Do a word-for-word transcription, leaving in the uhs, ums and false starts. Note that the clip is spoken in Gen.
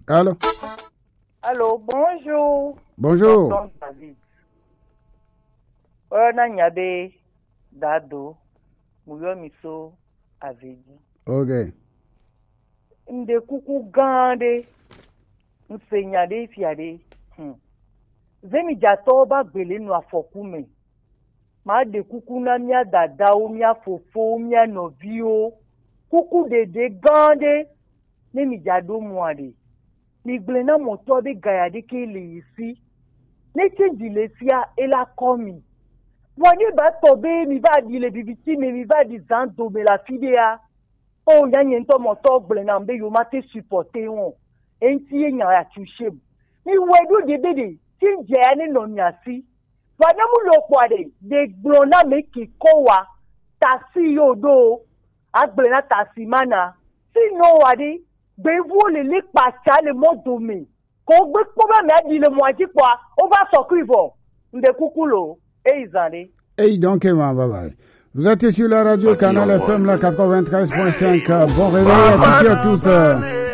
Allô? Allô, bonjour. Bonjour. Tonton David. Oyɔna nya be Dado, mu yɔ mi so Avedi. Ok. Ŋɖe kuku gã ɖe, ŋse nya ɖe fia ɖe. Hmm. Zemijatɔwo ba gbele nɔ afɔku me. Ma ɖe kuku na mía dadawo, mía fofowo, mía nɔviwo. Kuku ɖeɖe gã ɖe, ne mi dza ɖo mua ɖe. Mi gblẽ na mɔtɔ be gaya ɖeke le yi si. Ne tsi dzi le sia, ela kɔ mi. Vɔ ne ba tɔ be mi va ɖi le bibiti me, mi va ɖi zan dome le afi ɖea. O ya nye ŋutɔ mɔtɔ gblẽ nam be yewo mate supporter wɔn. Eŋuti ye nya ya tu shem. Mi wɔe ɖo ɖe be ɖe, tsi dze ya ne nɔ mia si. Vɔ ne mu lo kpɔa ɖe, ɖe gblɔ na me ke kɔ wa. Tasi yo ɖo, agblẽ na tasi mana. Si nɔ wa ɖe, gbevuwo le le kpatsa le mɔ dome. Ko gbe kpɔ be mia ɖi le mɔa dzi kpɔa, wo va sɔ kui vɔ. Ŋɖe kuku lo, eyi zan ɖe. Et donc, eh, bye bye. Vous êtes sur la radio Canal F M, la quatre-vingt-treize point cinq. Bon réveil à toutes et à tous.